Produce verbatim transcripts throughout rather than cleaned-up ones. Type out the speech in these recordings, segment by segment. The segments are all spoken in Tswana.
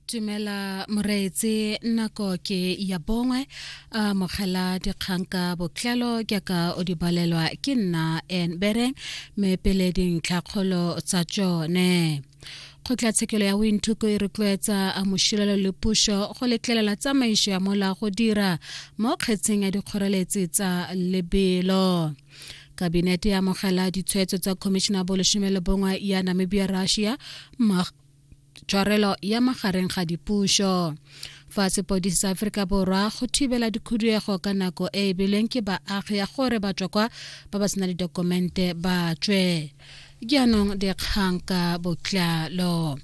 Tumela moreetsi, nako ke ya bongwe a mogela dikgang ka botlalo jaaka o di balelwa ke nna N Bereng, mme pele dintlhakgolo tsa tsone. Kgotlatshekelo ya Windhoek e rotloetsa Amoshilelo le puso go letlelela tsamaiso ya molao go dira mo kgetseng ya dikgoreletsi tsa lebelo. Kabinete e amogela ditshwetso tsa Khomišene ya bolesome le bongwe ya Namibia Russia tshwarelo ya magareng ga dipušo. Fa sepodisi sa Aforika Borwa go thibela dikhuduego ka nako e e beilweng ke baagi ya gore batswa kwa ba ba sena ditokumente ba tswe. Jaanong dikgang ka botlalo.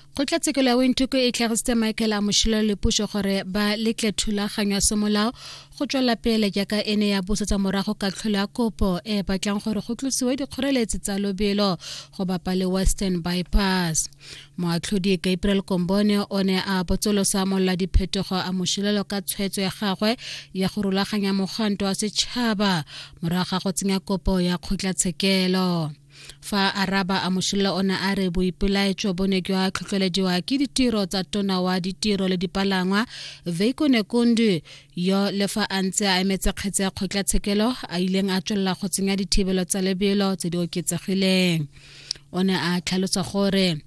Kgotlatshekelo ya Windhoek e tlhagisitse Michael Amoshilelo le puso gore ba letle thulaganyo ya semolao go tswela pele jaaka e ne ya busetsa morago katlholo ya kopo e e batlang gore go tlosiwe dikgoreletsi tsa lobelo go bapa le Western Bypass. Moatlhodi Gabriel Kombone o ne a botsolosa molla diphetogo Amoshilelo ka tshwetso ya gagwe ya go rulaganya mogwanto wa setšhaba morago ga go tsenya kopo ya kgotlatshekelo. Fa araba Amoshilelo o ne a re boipelaetso bo ne jwa tlhotlhelediwa ke ditiro tsa tona wa ditiro le dipalangwa Veiko Nekundi, yo le fa a ntse a emetse kgetse ya kgotlatshekelo a ileng a tswelela go tsenya dithibelo tsa lebelo tse di oketsegileng. O ne a tlhalosa gore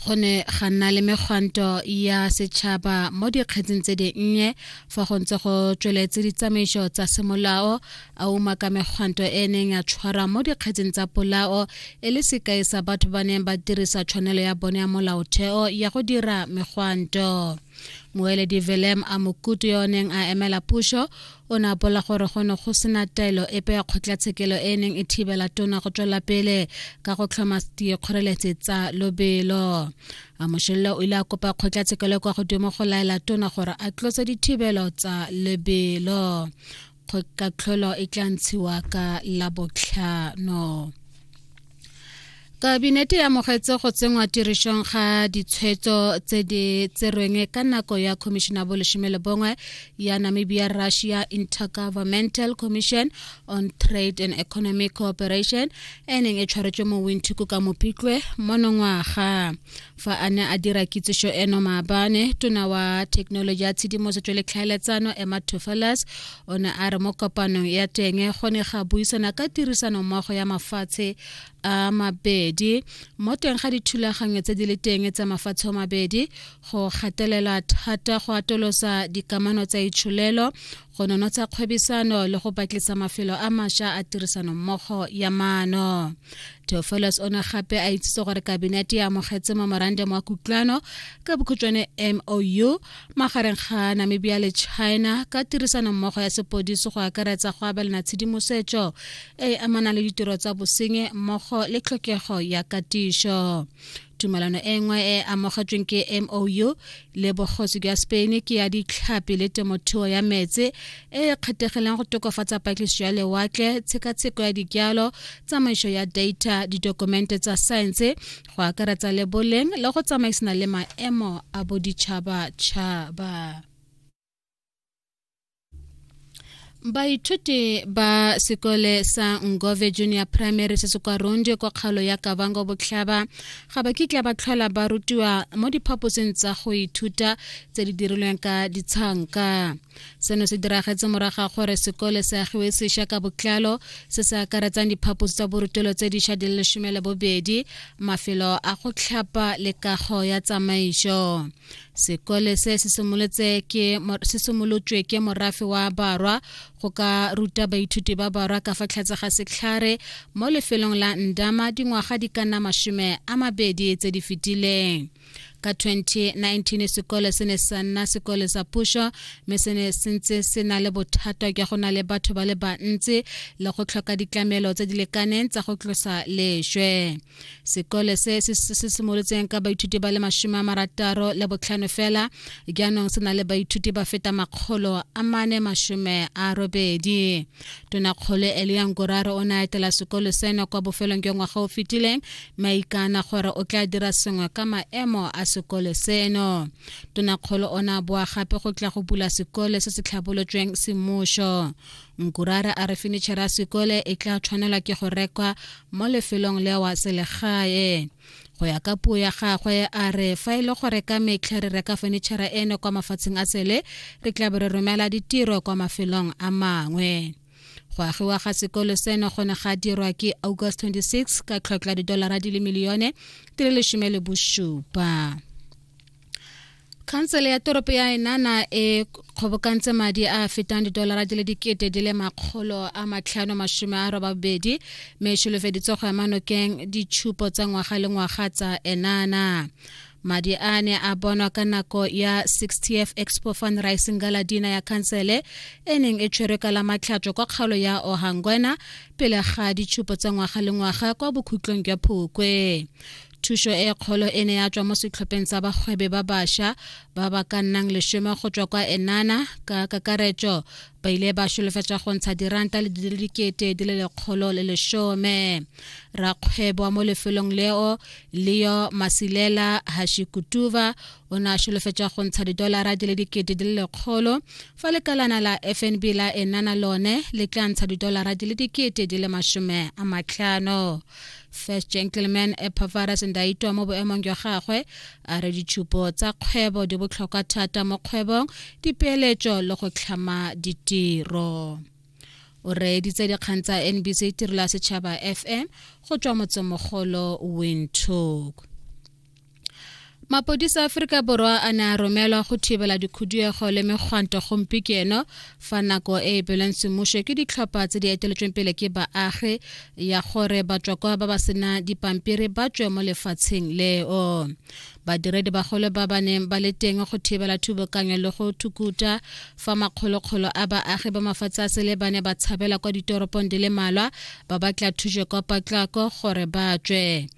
go ne ga nna le megwanto ya setšhaba mo dikgetseng tse dinnye fa go ntse go tsweletse ditsamaiso tsa semolao, a umaka megwanto e neng ya tshwarwa mo dikgetseng tsa polao e le sekai sa batho ba neng ba dirisa tshwanelo ya bone ya molaotheo ya go dira megwanto. Moeledi Willem Amukutu yo o neng a emela puso o ne a bolela gore go ne go sena taelo epe ya kgotlatshekelo e neng e thibela tona go tswela pele ka go tlhoma dikgoreletsi tsa lobelo. Amoshilelo o ile a kopa kgotlatshekelo kwa godimo go laela tona gore a tlose dithibelo tsa lebelo. Katlholo e tla ntshiwa ka Labotlhano. Kabinete e amogetse go tsenngwa tirisong ga ditshwetso tse di tserweng ka nako ya Khomišene ya bolesome le bongwe ya Namibia Russia Intergovernmental Commission on Trade and Economic Cooperation e neng e tshwaretswe mo Windhoek ka Mopitlwe monongwaga. Fa a ne a dira kitsiso eno maabane, tona wa thekenoloji ya tshedimosetso le tlhaeletsano Emma Theofelus o ne a re mo kopanong ya teng go ne ga buisana ka tirisanommogo ya mafatshe a mabedi mo teng ga dithulaganyo tse di le teng tsa mafatshe a mabedi, go gatelela thata go atolosa dikamano tsa itsholelo, go nonotsha kgwebisano le go batlisa mafelo a mašwa a tirisanommogo ya maano. Theofelus o ne gape a itsise gore kabinete e amogetse memorandum wa kutlwano ka bokhutshwane M O U magareng ga Namibia le China ka tirisanommogo ya sepodisi go akaretsa go abelana tshedimosetso e e amanang le ditiro tsa bosenyi mmogo le tlhokego ya katiso. Tumelano e nngwe e amogetsweng ke M O U le bogosi jwa Spain ke ya ditlhapi le temothuo ya metsi e e kgethegileng go tokafatsa patlisiso ya lewatle, tshekatsheko ya dijalo, tsamaiso ya data, ditokumente tsa saense go akaretsa le boleng le go tsamaisana le maemo a boditšhabatšhaba. Baithuti ba sekole sa Ngove Junior Primary se se kwa Rundu kwa kgaolo ya Kavango Botlhaba ga ba kitla ba tlhola ba rutiwa mo diphaposing tsa go ithuta tse di dirilweng ka ditshanka. Seno se diragetse morago ga gore sekole se agiwe sešwa ka botlalo se se akaretsang diphaposi tsa borutelo tse dišwa di le lesome le bobedi, mafelo a go tlhapa le kago ya tsamaiso. Sekole se se simolotse ke se simolotswe ke morafe wa Barwa go ka ruta baithuti ba Barwa ka fa tlase ga setlhare mo lefelong la Ndama dingwaga di ka nna masome a mabedi tse di fetileng. Ka twenty nineteen sekole se ne sa nna sekole sa puso mme se ne se ntse se na le bothata jwa go na le batho ba le bantsi le go tlhoka ditlamelo tse di lekaneng tsa go tlosa leswe. Sekole se se se simolotseng ka baithuti ba le masome a marataro le botlhano fela jaanong se na le baithuti ba feta makgolo a mane masome a robedi. Tonakgolo Elia Ngurare o ne a etela sekolo seno kwa bofelong jwa ngwaga o fetileng mme a ikana gore o tla dira sengwe ka maemo a sekole seno. Tonakgolo o ne a boa gape go tla go bula sekole se se tlhabolotsweng semmušo. Ngurare a re fenitšhara ya sekole e tla tshwanelwa ke go rekwa mo lefelong leo selegae. Go ya ka puo ya gagwe, a re fa e le gore ka metlha re reka fenitšhara eno kwa mafatsheng a sele, re tla be re romela ditiro kwa mafelong a mangwe. Go agiwa ga sekolo seno go ne ga dirwa ke August twenty-six ka tlhotlhwa ya didolara di le milione di le lesome le bosupa. Khansele ya toropo ya Enana e kgobokantse madi a a fetang didolara di le dikete di le makgolo a matlhano masome a robabedi, mme e solofeditse go ema nokeng ditshupo tsa ngwaga le ngwaga tsa Enana. Madi a ne a bonwa ka nako ya sixtieth Expo Fundraising Gala Dinner ya khansele e neng e tshwerwe ka la Matlhatso kwa kgaolo ya Ohangwena pele ga ditshupo tsa ngwaga le ngwaga kwa bokhutlong jwa Phukwe. Thuso e kgolo e ne ya tswa mo setlhopheng sa bagwebi ba bašwa ba ba ka nnang lesome go tswa kwa Enana. Ka kakaretso ba ile ba solofetsa go ntsha diranta le di le dikete di le lekgolo le lesome. Rakgwebo wa mo lefelong leo, Leo Masilela Hashikutuva, o ne a solofetsa go ntsha didolara di le dikete di le lekgolo, fa lekalana la F N B la Enana lone le tla ntsha didolara di le dikete di le masome a matlhano. First Gentleman Epaphras Ndaitwah mo boemong jwa gagwe a re ditshupo tsa kgwebo di botlhokwa thata mo kgwebong, dipeeletso le go tlhama ditiro. O reeditse dikgang tsa N B C Tirelo ya Setšhaba F M go tswa motsemogolo Windhoek. Mapodisa a Aforika Borwa a ne a romelwa go thibela dikhuduego le megwanto gompieno fa nako e e beilweng semmuso ke ditlhopha tse di eteletsweng pele ke baagi ya gore batswakwa ba ba sena dipampiri ba tswe mo lefatsheng leo. Badiredi bagolo ba ba neng ba le teng go thibela thubokanyo le go thukuta fa makgolokgolo a baagi ba mafatshe a sele ba ne ba tshabela kwa ditoropong di le malwa ba batla thuso kwa potlako gore ba tswe.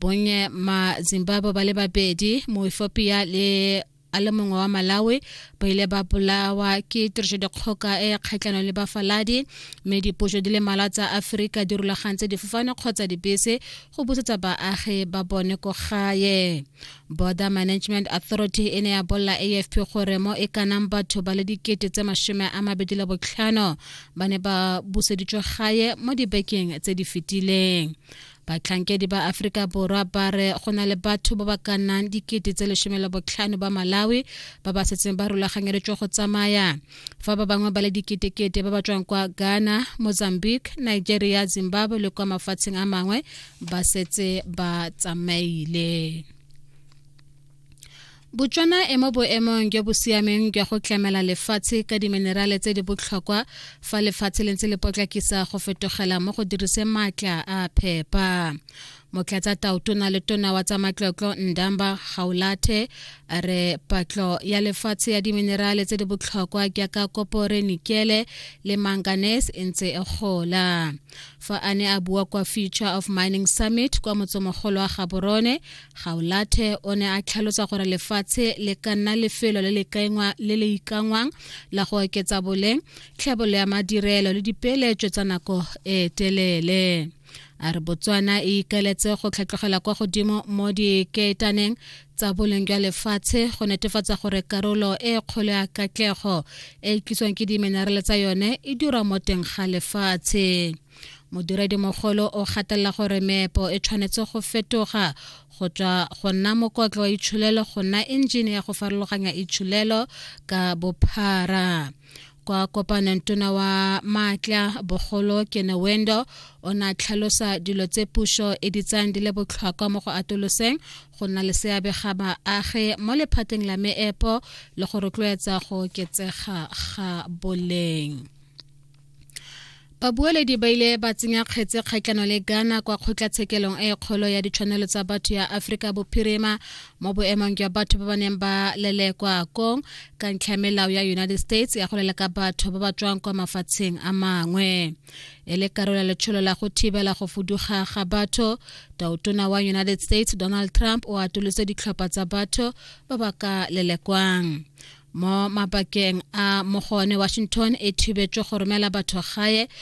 Bonnye ma Zimbabwe ba le babedi, Moethiopia le a le mongwe wa Malawi ba ile ba bolawa ke tirisodikgoka e kgatlhanong le bafaladi, mme dipuso di le mmalwa tsa Aforika di rulagantse difofane kgotsa dibese go busetsa baagi ba bone ko gae. Border Management Authority e ne ya bolela A F P gore mo e kanang batho ba le dikete tse masome a mabedi le botlhano ba ne ba buseditswe gae mo dibekeng tse di fetileng. Batlhankedi ba Aforika Borwa ba re go na le batho ba ba ka nnang dikete tse lesome le botlhano ba Malawi ba ba setseng ba rulaganyeditswe go tsamaya, fa ba bangwe ba le diketekete ba ba tswang kwa Ghana, Mozambique, Nigeria, Zimbabwe le kwa mafatsheng a mangwe ba setse ba tsamaile. Botswana e mo boemong jo bo siameng jwa go tlamela lefatshe ka diminerale tse di botlhokwa fa lefatshe le ntse le potlakisa go fetogela mo go diriseng maatla a phepa. Motlatsa tautona le tona wa tsa matlotlo Ndamba Gaolathe a re patlo ya lefatshe ya diminerale tse di botlhokwa jaaka kopore, nikele le manganese e ntse e gola. Fa a ne a bua kwa Future of Mining Summit kwa motsemogolo wa Gaborone, Gaolathe o ne a tlhalosa gore lefatshe le ka nna lefelo le le ikanngwang la go oketsa boleng, tlhabololo ya madirelo le dipeeletso tsa nako e telele. A re Botswana e ikaeletse go tlhatlogela kwa godimo mo dikeetaneng tsa boleng jwa lefatshe go netefatsa gore karolo e kgolo ya katlego e e tliswang ke diminerale tsa yone e dirwa mo teng ga lefatshe. Modiredimogolo o gatelela gore meepo e tshwanetse go fetoga go tswa go nna mokotlo wa itsholelo go nna enjene ya go farologanya itsholelo ka bophara. Kwa kopanong, tona wa maatla bogolo Kenneth Wendo o ne a tlhalosa dilo tse puso e di tsayang di le botlhokwa mo go atoloseng go nna le seabe ga baagi mo lephateng la meepo le go rotloetsa go oketsega ga boleng. Babueledi ba ile ba tsenya kgetse kgatlhanong le Ghana kwa kgotlatshekelong e kgolo ya ditshwanelo tsa batho ya Aforika Bophirima mo boemong jwa batho ba ba neng ba lelekwa kong ka ntlha melao ya United States ya go leleka batho ba ba tswang kwa mafatsheng a mangwe. E le karolo ya letsholo la go thibela go fuduga ga batho, tautona wa United States Donald Trump o atolotse ditlhopha tsa batho ba ba ka lelekwang. Mo mabakeng a mo go one, Washington e thibetswe go romela batho gae.